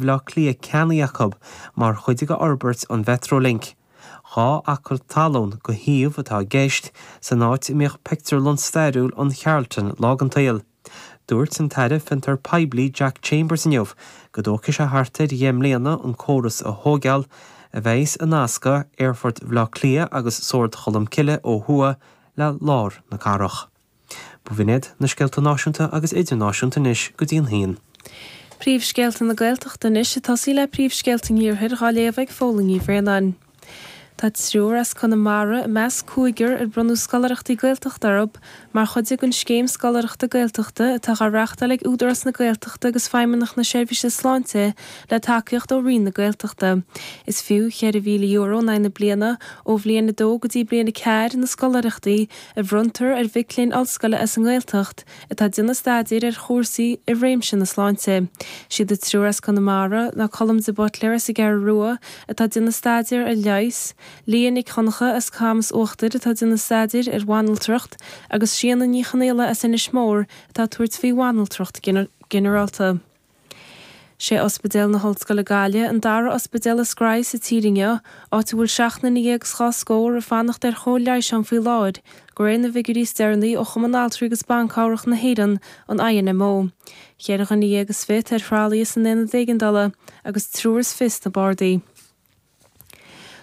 Bhaile Átha Cliath ceannaithe acu mar chuid de fhorbairt an Mhetrolink. 2 acra talún go shuíomh atá i gceist, san áit a mbíodh pictiúrlann stairiúil an Charlton lá den tsaol. Dúirt an tAire Fiontar Poiblí Jack Chambers inniu go dtógfaidh sé thart ar dheich mbliana an córas a thóigeáil, a bheas ag nascadh Aerfort Bhaile Átha Cliath agus Sord Cholm Cille ó thuaidh le lár na cathrach. B'in iad na scéalta náisiúnta agus idirnáisiúnta anois go dtí an haon. Príomhscéalta na Gaeltachta anois ag tosaí le príomhscéalta an Iarthair dhá léamh ag Fódhla Ní Bhraonáin. Tá triúr as Conamara i measc cúigear ar bronnadh scoláireachtaí Gaeltachta orthu mar chuid den Scéim Scoláireachta Gaeltachta atá dhá reáchtáil ag Údarás na Gaeltachta agus Feidhmeannacht na Seirbhíse Sláinte le tacaíocht ó Roinn na Gaeltachta. Is fiú €4,000 in aghaidh na bliana ó bhliain 2 go dtí bliain 4 na scoláireachtaí a bhronntar ar mhic léinn ollscoile as an nGaeltacht atá ag déanamh staidéir ar chúrsaí i réimse na sláinte. Siad an triúr as Conamara ná Colm de Buitléar as an gCeathrú Rua atá ag déanamh staidéir ar leigheas, Leah Nic Dhonncha as Camas Uachtair atá ag déanamh staidéir ar bhanaltracht agus Síona Ní Chonaola as Inis Mór atá ag tabhairt faoi bhanaltracht ginearálta. Sé Ospidéal na hOllscoile Gaillimh an dara ospidéal is gnaithí sa tír inniu, áit a bhfuil seacht nduine dhéag is dhá scór ag fanacht ar chóir leighis ann faoi láthair, de réir na bhfigiúirí is deireanaí ó Chumann Altraí agus Ban Cabhrach na hÉireann, an INMO. Cheithre dhuine dhéag is fiche atá ar thralaithe san aonad éigeandála agus triúr is fiche sna bardaí.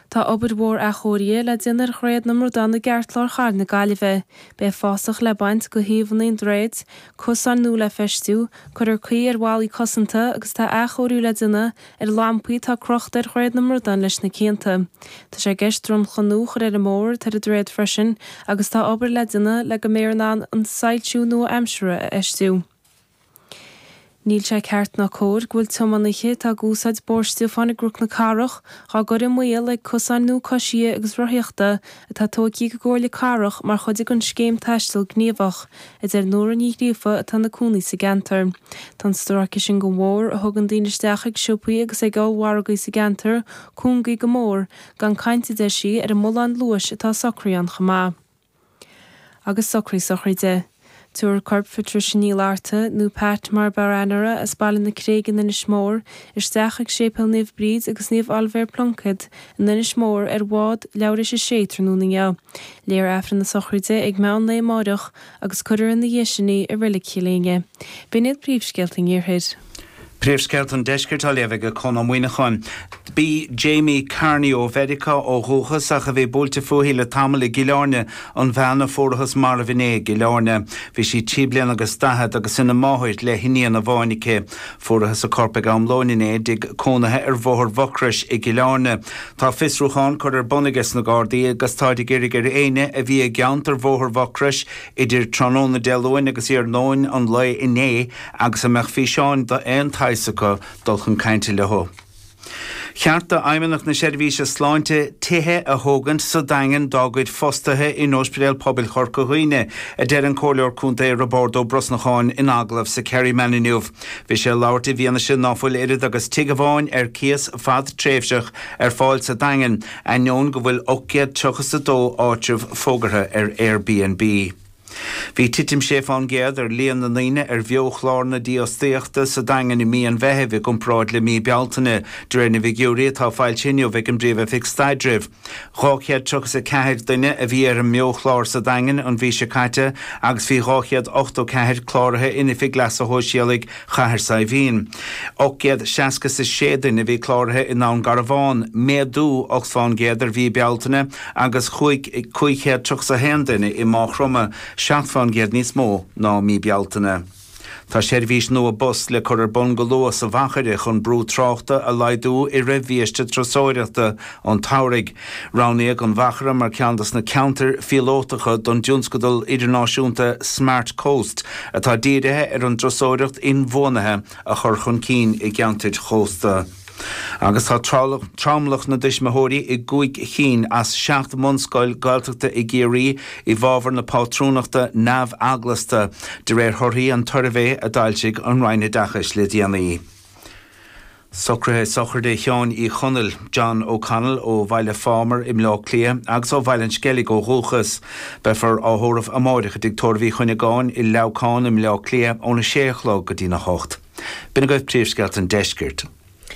Tá obair mhór athchóirithe le déanamh ar Dhroichead na mBradán i gceartlár chathair na Gaillimhe. Beidh fásach le baint de thaobhanna an droichid, cosáin nua le feistiú, cuirfear caoi ar bhallaí cosanta agus tá athchóiriú le déanamh ar lampaí atá crochta ar Dhroichead na mBradán leis na cianta. Tá sé i gceist dromchla nua a chur ar an mbóthar atá ar an droichead freisin agus tá obair le déanamh le go mbeifear in ann an soilsiú nua-aimseartha a fheistiú. Níl sé ceart ná cóir go bhfuil tiománaithe atá ag úsáid Bóthar Stiofáin i gCnoc na Cathrach dhá gcur i mbaol ag cosáin nua coisithe agus rothaíochta atá tóigthe ag an gComhairle Cathrach mar chuid den Scéim Taisteal Gníomhach, a deir Nóra Ní Ghríofa atá ina cónaí sa gceantar. Tá an stráice sin den bhóthar, a thugann daoine isteach ag siopaí agus ag ollmhargaí sa gceantar, cúngaithe go mór, gan caint, a deir sí, ar an mbullán luais atá socraithe ann chomh maith. Agus socraí sochraide. Tabharfar corp Phatricia Ní Fhlatharta, nó Pat mar ab fhearr aithne uirthi, as Baile na Creige in Inis Mór, isteach ag Séipéal Naomh Bríd agus Naomh Oilibhéar Pluincéad in Inis Mór ar bhád leathuair théis a sé tráthnóna inniu. Léifear Aifreann na sochraide ag meán lae amáireach agus cuirfear ina dhiaidh sin í i Reilig Chill Éinne. B'in iad príomhscéalta an Iarthair. Príomhscéalta an Deiscirt á léamh ag Conn Ó Muíneacháin. B'í Jamie Carney ó Mheiriceá ó dhúchas ach a bhí buailte fúithi le tamall i gCill Airne an bhean a fuarathas marbh inné i gCill Airne. Bhí sí trí bliana agus daichead agus ina máthair le hiníon amháin aici. Fuarathas a corp ag am lóin inné i dtigh cónaithe ar Bhóthar Mhucrois i gCill Airne. Tá fiosrúchán curtha ar bun aige sna Gardaí agus táid ag iarraidh ar éinne a bhí i gceantar Bhóthar Mhucrois idir tráthnóna Dé Luain agus iarnóin an lae inné agus a mbeadh físeáin d'aon tsaghas acu dul chun cainte leo. Cheart do Fheidhmeannacht na Seirbhíse Sláinte tithe a thógaint sa Daingean dá gcuid fostaithe in Ospidéal Pobail Chorca Dhuibhne, a deir an Comhairleoir Contae Roibeárd Ó Brosnacháin in agallamh sa Kerryman inniu. Bhí sé ag labhairt i bhfianaise ná fuil oiread agus tigh amháin ar cíos fadtréimhseach ar fáil sa Daingean, ainneoin go bhfuil 832 áitreabh fógartha ar Airbnb. Bhí titim 6 fán gcéad ar líon na ndaoine ar bheo-chlár na dífhostaíochta sa Daingean i mí an Mheithimh i gcomparáid le mí Bealtaine, de réir na bhfigiúirí atá foilsithe inniu ag an bPríomh-Oifig Staidrimh. 234 duine a bhí ar an mBeo-chlár sa Daingean an mhí seo caite agus bhí 284 cláraithe in Oifig Leasa Shóisialaigh Chathair Saidhbhín. 866 duine a bhí cláraithe i nDún Garbhán, méadú 8 fán gcéad ar mhí Bealtaine, agus 531 duine i Maigh Chromtha, 7 fán gcéad níos mó ná mí Bealtaine. Tá seirbhís nua bus le cur ar bun go luath sa Mhachaire chun brú tráchta a laghdú i rith bhiaiste turasóireachta an tsamhraidh. Roghnaíodh an Mhachaire mar cheann dos na ceantair phíolótacha don dtionscadal idirnáisiúnta Smart Coast atá dírithe ar an dturasóireacht inbhuanaithe a chur chun cinn i gceantair chósta. Agus tá tromlach na dtuismitheoirí i gcúig chinn as seacht mbunscoil Gaeltachta i gCiarraí i bhfabhar na pátrúnachta neamh-eaglasta, de réir thorthaí an tsuirbhé a d'fhoilsigh an Roinn Oideachais le déanaí. Socruithe sochraide Sheáin Uí Chonaill, John O'Connell, ó Bhaile Phámar i mBleá Cliath agus ó Bhaile an Sceilg ó dhúchas. Beifear á thórramh amáireach i dTigh Tórraimh Uí Chuinneagáin i Leamhcán i mBleá Cliath óna sé a chlog go dtína hocht. B'in agaibh príomhscéalta an deiscirt.